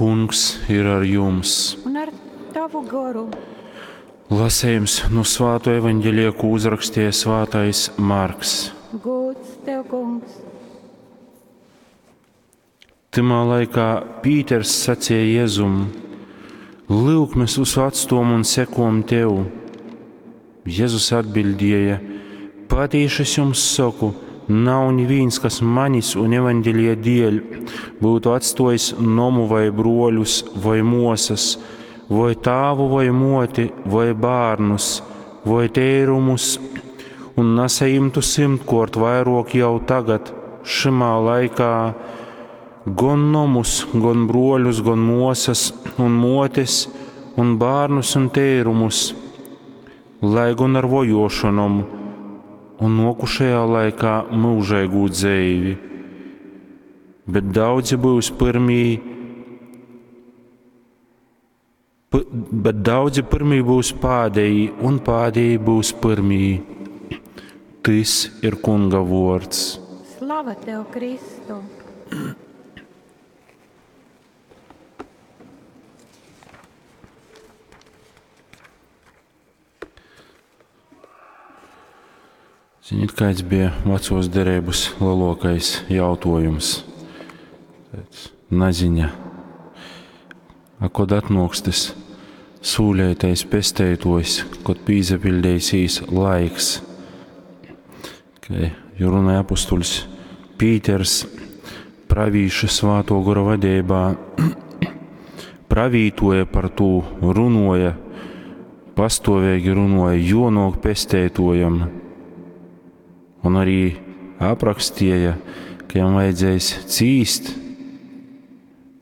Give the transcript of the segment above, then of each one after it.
Kungs ir ar jums! Un ar tavu goru. Lasējums nu Svāto evaņģelija, ko uzrakstīja Svātais Marks. Gods tev, Kungs! Tymā laikā Pīters sacīja Jēzum: Lyuk, mēs visu atstom un sekojam tev. Jēzus atbildēja: Patīši es jums saku, nav neviens, kas manis un evaņģelija dēļ būtu atstojis nomu vai broļus vai mosas, vai tēvu vai moti, vai bērnus, vai tērumus, un nesaimtu simtkort vairāk jau tagad, šimā laikā, gan nomus, gan broļus, gan mosas un motes, un bērnus un tērumus, lai gan ar vojošanom, un nokušajā laikā mūžīgu dzeivi. Bet daudzi būs pirmī, bet daudzi pirmī būs pādējī, un pādējī būs pirmī. Tys ir Kunga vārds. Slava tev, Kristu! Ziniet, kāds bija vecos derības lielākais jautājums? Tāds naziņa. A kod atnāks tas sūlētais pesteitojs, kod pīzapildēsīs laiks? Kai jo runāja apustuļs Pīters pravīša svāto gora vadībā, pravītoja par to, runoja, pastāvīgi runoja, jo nāk pesteitojam. Un arī aprakstīja, ka jam vajadzēs cīst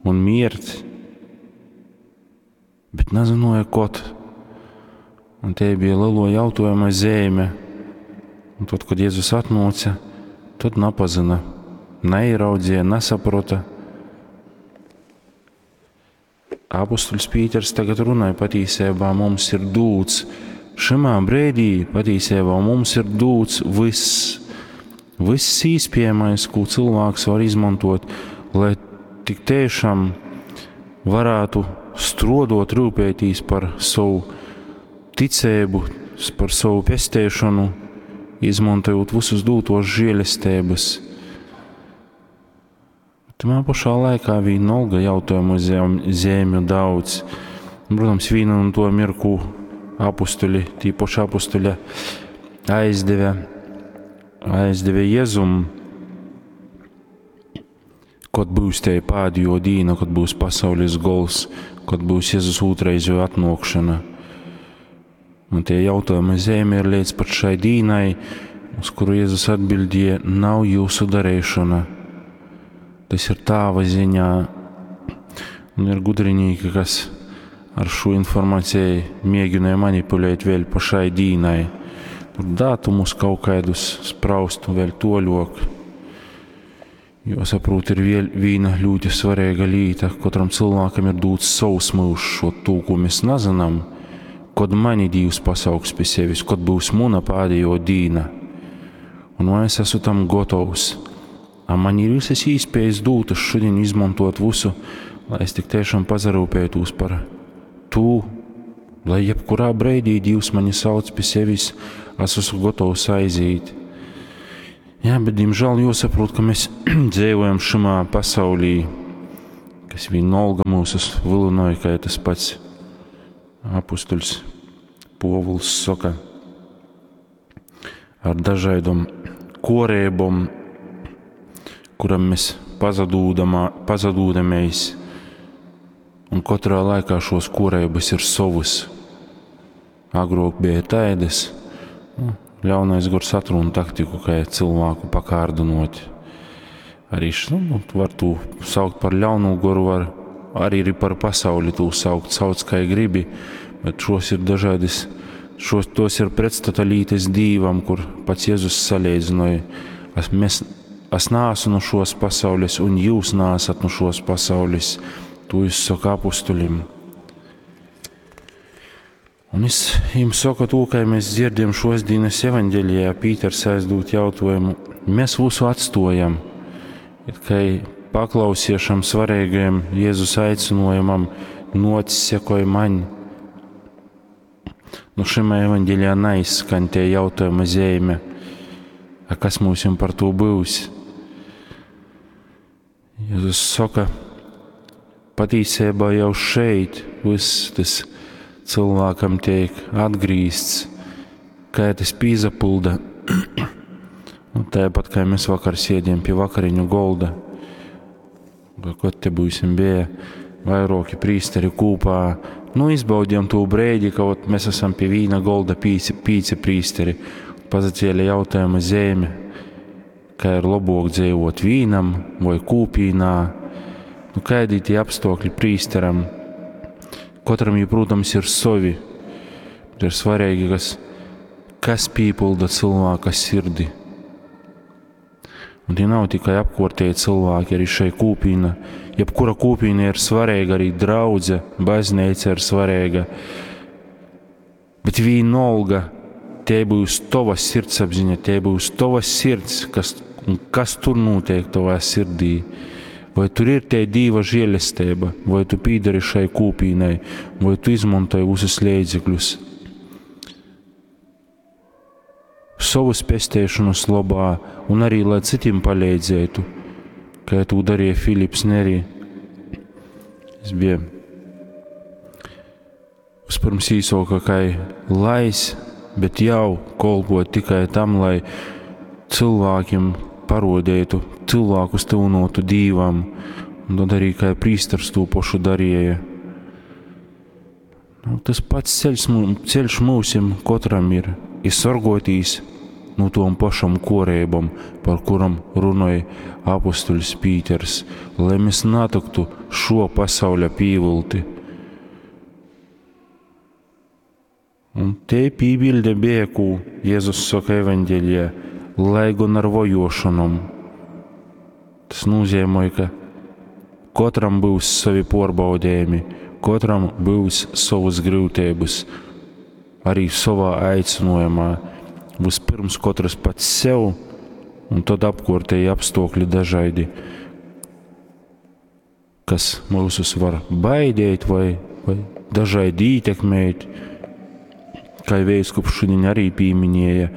un mirt, bet nezināja, kod. Un te bija lielo jautājuma zīme. Un tad, kad Jēzus atnāca, tad napazina, neiraudzīja, nesaprota. Apostuļs Pīters tagad runāja, patīsībā mums ir dūts. Šimā brīdī patīsībā mums ir dūts viss, viss īspējamais, ko cilvēks var izmantot, lai tik tiešām varētu strodot, rūpētīs par savu ticību, par savu pestēšanu, izmantojot visus dūtos žēlestības. Tamā pašā laikā vienalga jautājumu zīmju daudz. Protams, viena no to mirku apustuļi, tī paši apustuļi aizdeve, aizdeve Jēzum, kad būs te pēdējo dīna, kad būs pasaules gols, kad būs Jēzus otrreizējo atnākšana. Un tie jautājumi zīme ir līdz pat šai dīnai, uz kuru Jēzus atbildēja, nav jūsu darīšana. Tas ir tāva ziņā. Un ir gudrinieki, kas ar šo informāciju mēģināja manipulēt vēl pa šai dīnai. Tur datumus kaut kādus spraust un vēl toļok. Jo, saprot, ir viel, viena ļoti svarīga lieta. Katram cilvēkam ir dots savs mūžs, šo to, ko mēs nezinām, kad mani Dievs pasauks pie sevis, kad būs mana pēdējo dīna. Un vai es esmu tam gatavs? A man ir visas iespējas dotas šodien izmantot visu, lai es tik tiešām pazarūpētos par to, lai jebkurā brīdī Dievs mani sauc pie sevis, es esmu gatavs aiziet. Jā, bet, diemžēl, jāsaprot, ka mēs dzīvojam šimā pasaulī, kas vienalga mūsus vilinoja, kā tas pats apustuļs Povuls saka, ar dažādom korēbom, kuram mēs pazadūdamies, un katrā laikā šos korēbas ir savas. Agrāk bija tādas, nu, ļaunais gars atruna taktiku, kā cilvēku pakārdinot. Arī nu, var to saukt par ļaunu goru, var arī par pasauli to saukt, sauc kā gribi, bet šos ir dažādas, šos tos ir pretstata lītes dīvam, kur pats Jēzus salīdzināja. Es, mēs, es nāsu no šos pasaules, un jūs nāsat no šos pasaules. To es saku apustuļim. Un es jums saku to, kā mēs dzirdam šos dienas evaņģelijā, Pīters aizdot jautājumu, mēs visu atstojam, it kā paklausie šam svarīgajam Jēzus aicinājumam, nōc, sekoj maņ. Nu, šimā evaņģelijā neizskan tie jautājuma zīme, a kas mums par to būs? Jēzus saka, patīsībā jau šeit viss tas cilvēkam tiek atgrīzts, kā tas pīzapulda. Un tāpat kā mēs vakar sēdējām pie vakariņu golda, kad te būsim bija vairoki prīsteri kūpā, nu izbaudījām to brēdi, ka ot, mēs esam pie vīna golda pīci prīsteri. Pazacēla jautājuma zeme, kā ir labāk dzīvot vīnam vai kūpīnā, nu kādi tie apstākļi prīsteram. Katram, ja, protams, ir savi, bet ir svarīgi, kas pīpilda cilvēka sirdi. Un tie nav tikai apkortēji cilvēki, arī šai kūpīna. Jebkura kūpīna ir svarīga, arī draudze, baznīca ir svarīga. Bet vienalga, te būs tava sirdsapziņa, te būs tava sirds, kas tur notiek tavā sirdī. Vai tur ir tie Dieva žēlestība, vai tu pīdari šai kūpīnai, vai tu izmantoji visus līdzekļus savas pestēšanas labā un arī, lai citiem palīdzētu, kā to darīja Filips Neri. Es biju vispirms īsoka, kā lais, bet jau kolpot tikai tam, lai cilvēkiem parodētu, cilvēkus tuvinotu Dīvam, un tad arī kā prīsters to pašu darīja. Nu, tas pats ceļš mūsim katram ir, ir sorgotīs no tom pašam korībam, par kuram runāja apustuļs Pīters, lai mēs natiktu šo pasauļa pīvilti. Un te pībilde bija, ko Jēzus saka evaņģēlijā, lai gan ar vojošanom. Tas nozīmē, ka katram būs savi porbaudījumi, katram būs savas grūtības, arī savā aicinājumā. Vispirms katrs pats sev, un tad apkārtēji apstākļi dažādi, kas mūsus var baidīt vai dažādi ietekmēt. Kā Vēskups šodien arī pieminēja,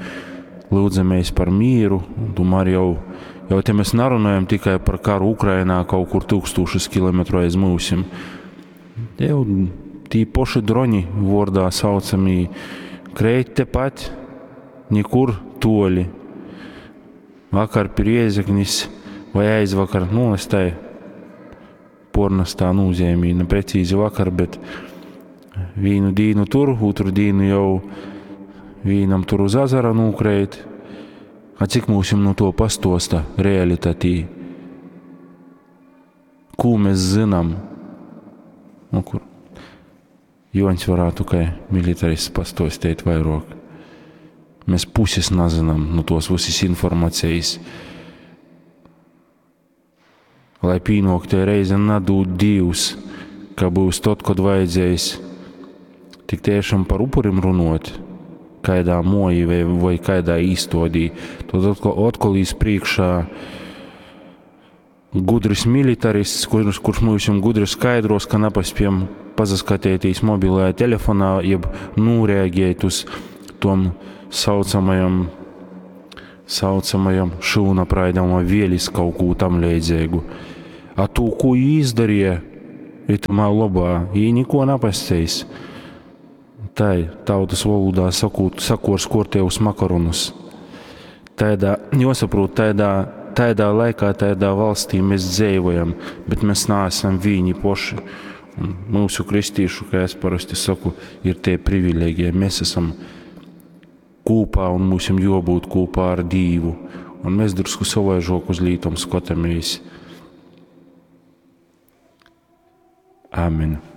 lūdzamies par mieru, un tomēr jau te mēs nerunājam tikai par karu Ukrainā kaut kur tūkstošus kilometru aiz mūsim. Jau tī poši droni vordā saucamī kreit tepat, nekur toļi. Vakar pie Riezeknis vai aizvakar, nu, es tai pornastā nozīmī, ne precīzi vakar, bet vīnu dīnu tur, otru dīnu jau vīnam tur uz azara nūkreit. A cik mūsim no to pastosta realitātī? Ko mēs zinām? Nu, kur Joņs varētu kā militarists pastostīt vairāk. Mēs puses nezinām no tos visas informācijas. Lai pīnok te reize nadūt Dievs, ka būs tad, kad vajadzēs tik tiešām par upurim runot, kādā moji vai kādā īstodī, tad atkal īs priekšā gudrs militarists, kurš mums gudri skaidros, ka nepaspējam pasaskatēties mobilajā telefonā, jeb noreaģēt uz tom saucamajam šūna praidam vai vielis kaut ko tam līdzīgu. A to, ko jī izdarīja, itamā labā, jī neko nepasceis. Tai tautas valodā sakot, sakors kortējus makaronus. Tādā, jāsaprot, tādā laikā, tādā valstī mēs dzīvojam, bet mēs neesam vieni poši. Un mūsu kristīšu, kā es parasti saku, ir tie privilēģija. Mēs esam kopā un mums ir jābūt kopā ar Dievu. Un mēs drusku savaižok uz lītom skatāmies. Amen.